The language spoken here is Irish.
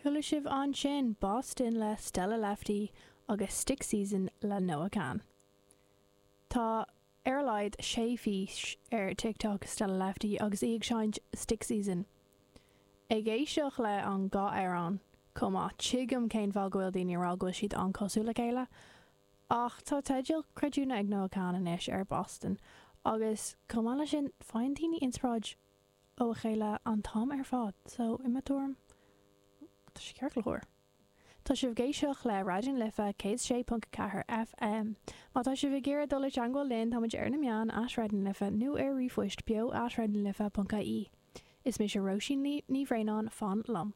Chuala sibh ansin Boston le Stella Lefty agus Stick Season le Noah Kahan. Tá ar a laghad 6 fhís ar TikTok Stella Lefty agus í ag seinnt Stick Season. Ag éisteacht le an dhá amhrán chomh maith, tuigim cén fáth go bhfuil daoine ag rá go bhfuil siad an-cosúil le chéile. Ach tá teideal creidiúna ag Noah Kahan anois ar Boston agus chomh maith leis sin faigheann daoine inspioráid ó a chéile an t-am ar fad so i mo tuairim tá sé ceart go leor. Tá sibh ag éisteacht le Raidió na Life 106.4 FM. Má tá sibh ag iarraidh dul i dteangmháil linn táimid ar na meáin at Raidió na Life nó ar ríomhphoist beo at raidionalife.ie. Is mise Róisín Ní Bhraonáin, fan liom.